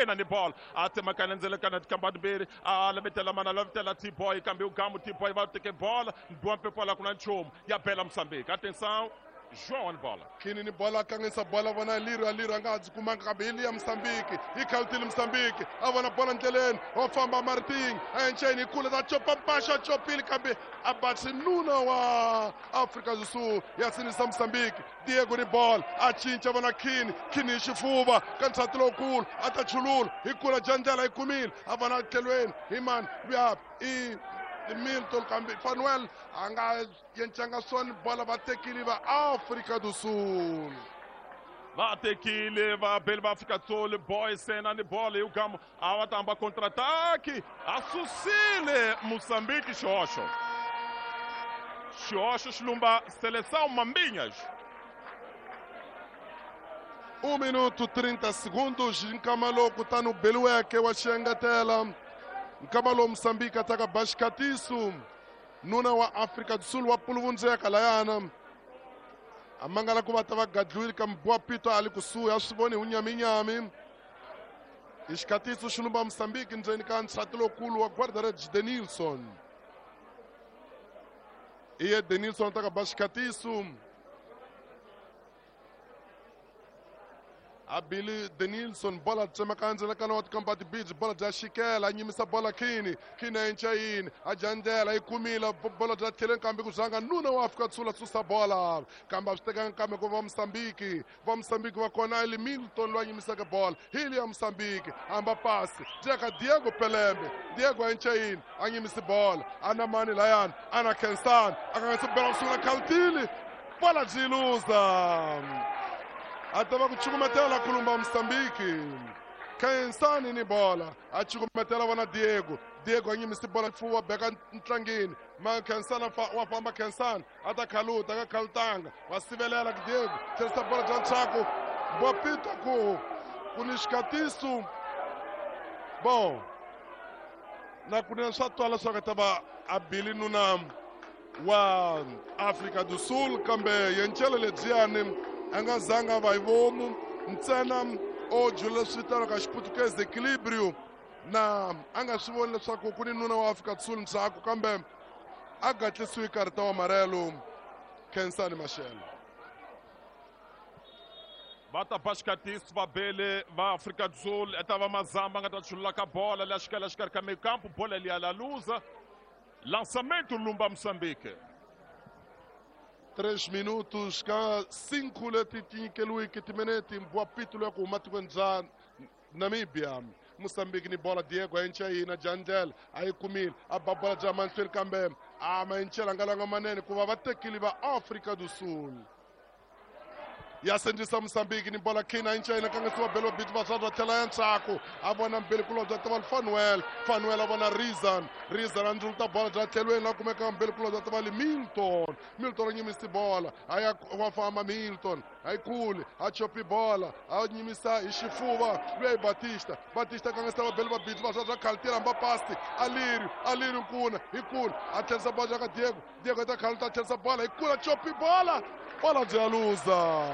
Sena ni bola a tsemakanya ndzelekana tikamba timbirhi a lavetela mana lavetela T-boy kambe ugamu T-boy va teke bola biwa mpepo la ku na nchumu ya bela Mozambique. Atenção, João ni bola. Kini ni bola kangisa bola vona Liro Liro a nga ha byi kumanga kambe hi liya Mozambique yi khawutile Mozambique a vona bola ndleleni wa famba Martin a enceni hi kule ta copa mpaxa copile kambe a batsi nuna wa Afrika do Sul ya sinisa Mozambique. Diego ni bola a cinca vona Kini Kini hi xifuva ka nsati lowukulu a ta chulula hi kula bya ndlela yi kumile a vona tlhelweni hi mani luya i Milton kambe Fanuel a nga yencanga swona bola va tekile va Afrika do Sul. Va tekile vabeli va Afrika Sul boy Sena ni bola hi ugamu a va ta hamba contre-attaque a susile Mozambique xihoxo. Xihoxo xi lumba Seleção Mambinhas. 1 minuto 30 segundos nkama lowu kutani u beliweke wa xiengetela nkama lowu Mozambique ataka ba xikatiso nuna wa Afrika do Sul wa puluvundzeka layana a mangala ku va ta va gadliwile kambe Boa Pito a li kusuhi a swi voni hi wunyaminyami hi xikatiso xi lumba Mozambique ndzeni ka nsati lowukulu wa guarda-redes Denilson. Iye Denilson ta ka ba xikatiso a Billy Denilson bola tsemaka ndzelekano wa tikamba tibidzi bola bya xikela a nyimisa bola Kini Kini a enca yini a dya ndlela yi kumile bola bya tlheleni kambe ku zanga nuna wa Afrika Sul a susa bola kambe a swi tekanga kambe ku va Mozambique va Mozambique va kona eli Milton loyi a nyimisaka bola hi liya Mozambique hamba pasi jeka Diego Pelembe Diego a enca yini a nyimisi bola ana mani layani ana Kensan a kanganyisa bola kusungula khawutile bola byi luza a ta va ku cukumetela kulumba Mozambique Khensani ni bola a cukumetela vona Diego Diego a nyimisi bola fuwa beka ntlangeni ma Khensani wa famba Khensani a ta khaluta a nga khalutanga wa sivelela ku Diego tlherisa bola bya ntshaku Bopito ku ku ni xikatiso bon na kunene swa twala leswaku ta va a bili nuna wa Afrika do Sul kambe yencele lebyiyani a nga zanga va hi vomu ntsena o jula leswi vitaniwaka xiputukezi equilibrio na a nga swi voni leswaku ku ni nuna wa Afrika do Sul ndzhaku kambe a gatlisiwe karita wa marelo Khensani Mashele. Va ta ba xikatisi vabele va Afrika do Sul eta va Mazamba nga ta chulula ka bola leya xikela xikarhi ka mekampu bola liya la luza. Lançamento lumba Moçambique. 3 minutos ka 5 leti ti nyikeliweke timinete Boa Pito loyi ku huma tikweni bya Namibia. Mozambique ni bola Diego a enca yina Jandel a yi kumile a ba bola bya mahlweni kambe a ma encela nga langa manene ku va va tekile va Afrika do Sul. Ya sendisa Mozambique ni bola Kina a enca yina kangasiwa belo bit va swa tlhela ya ntshaku a vona mbili kulobya ta va Fanuel Fanuel a vona Rizan Rizan a ndzuluta bola bya tlhelweni la kumeka mbili kulobya ta va li Milton Milton a nyimisi bola a ya wa famba Milton a yi kuli a chopi bola a nyimisa hi xifuva luya hi Batista Batista kangisa va beli va bit va swa swa khalutela mba pasti Alirio Alirio nkuna hi kula a tlherisa bola bya ka Diego Diego ta khaluta a tlherisa bola hi kula chopi bola bola bya luza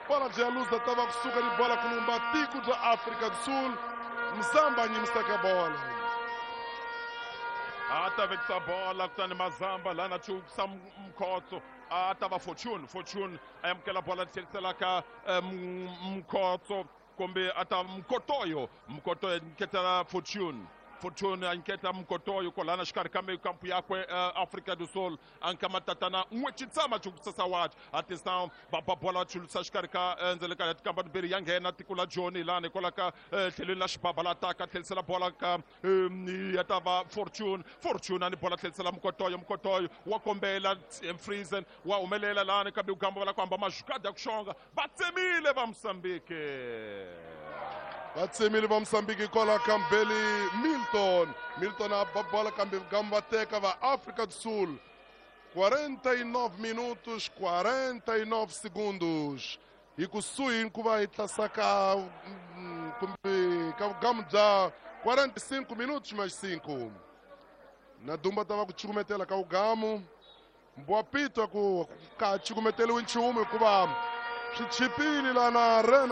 bola bya luza ta va kusuka ni bola ku lumba tiko bya Afrika do Sul Mzamba a nyimisaka bola a ta vekisa bola kutani Mazamba lana chukisa Mkhotso a ta va Fortune Fortune a amukela bola tlherisela ka Mkhotso kumbe a ta Mkotoyo Mkotoyo nketela Fortune Fortune a nketa Mkotoyo kwalana xikarhi ka kampu yakwe Afrika do Sul a nka matatana n'we chitsama chukisasa wachi atenção va ba bola chulusa xikarhi ka ndzele ka tikamba timbirhi ya nghena tiko la Joni lani hikwalaho ka tlhelweni la xibaba la taka tlherisela bola ka ya ta va Fortune Fortune a ni bola tlherisela Mkotoyo Mkotoyo wa kombela Friesen wa humelela lani kambe ugamba va la ku hamba mazhukada ya ku xonga va tsemile va Mozambique. Va tsemile va Mozambique hikwalaho ka Mbeli Milton Milton a ba bola kambe gamba va teka va Afrika do Sul. 49 minutos 49 segundos hi kusuhi ku va hi tlasaka kumbe ka vugamu bya 45 minutos mais 5 na dumba ta va ku cukumetela ka vugamu Boa Pito ku ka cukumeteliwi nchumu hikuva swi chipile lana Rena.